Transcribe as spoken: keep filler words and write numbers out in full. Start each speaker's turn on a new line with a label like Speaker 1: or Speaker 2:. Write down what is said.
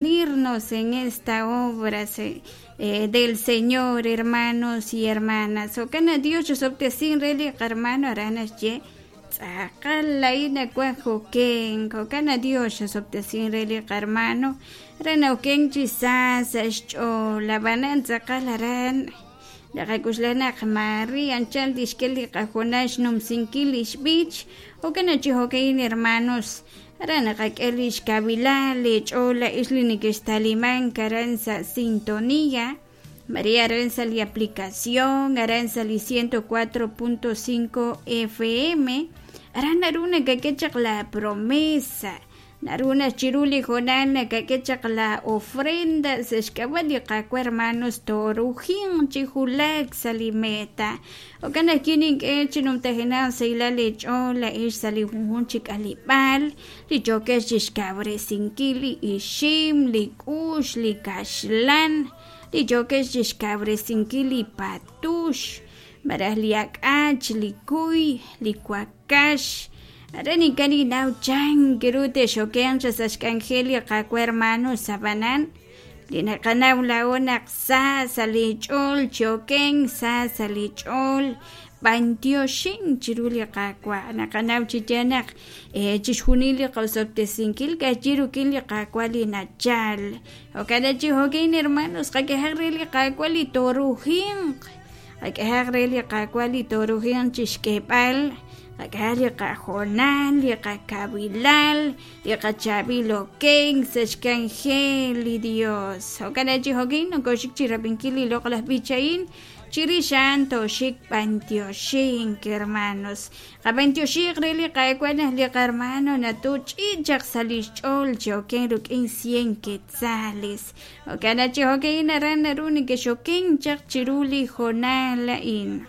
Speaker 1: Unirnos en esta obra eh, del Señor, hermanos y hermanas. Jo'kan Dios xosob'tesin re li qarmano aran naxye tz'aqal la'in nakuaj joken. Jo'kan Dios xosob'tesin re li qarmano re nawken chi sa sa' xch'ool ab'anan tz'aqal aran naqak'uxlaj naq Maria anchal tixk'e li qajonal xnumsinkil li xb'ich. Jo'kan chi jo'ka'in, hermanos, aran naqak'e li xkabilal li ch'ool la'ix li nekextalimank aran sa' sintonía María aran sa' li aplicación aran sa' li ciento cuatro punto cinco F M aran naru nakak'e chaq la promesa naru naxchiru li jonal nakak'e chaq la ofrenda sa' xk'ab'a' li Qaawa' hermanos torujin chi julak sa' li meta. Jo'kan naq kinink'e chi numtajenaq sahilal li ch'ool la'ix sa' li junjun chi k'alib'aal li chokex chi xkawresinkil li ixim li k'ux li kaxlan li chokex chi xkawresinkil li patux maraj li ak'ach li kuy li wakax. Aran ink'a' ninnaw chan kiru texoken sa' xk'anjel li Qaawa' hermanos ab'anan li naqanaw laa'o naq sa sa' li ch'ool choken sa sa' li ch'ool b'antioxin chiru li Qaawa' naqanaw chi yaal naq chixjunil li qaosob'tesinkil ka'ajwi' rik'in li Qaawa' li nachal. Jo'kan chi jo'kan, hermanos, qak'ehaq re li Qaawa' li torujinq qak'ehaq re li Qaawa' li torujinq chixk'eeb'al qak'ehaq li qajonal li qakabilal li qachaab'il oken sa' xk'anjel li Dios. Jo'kan chi jo'kan nokoxik chi rab'inkil li loq'laj b'ich a'in chirix a'an toxik b'antioxink, hermanos. Qab'antioxiq re li Qaawa' naq li qarmano natuch'ichaq sa' li xch'ool chi oken rik'in cien quetzales. Jo'kan chi jo'kan aran naru nekexoken chaq chiru li jonal a'in.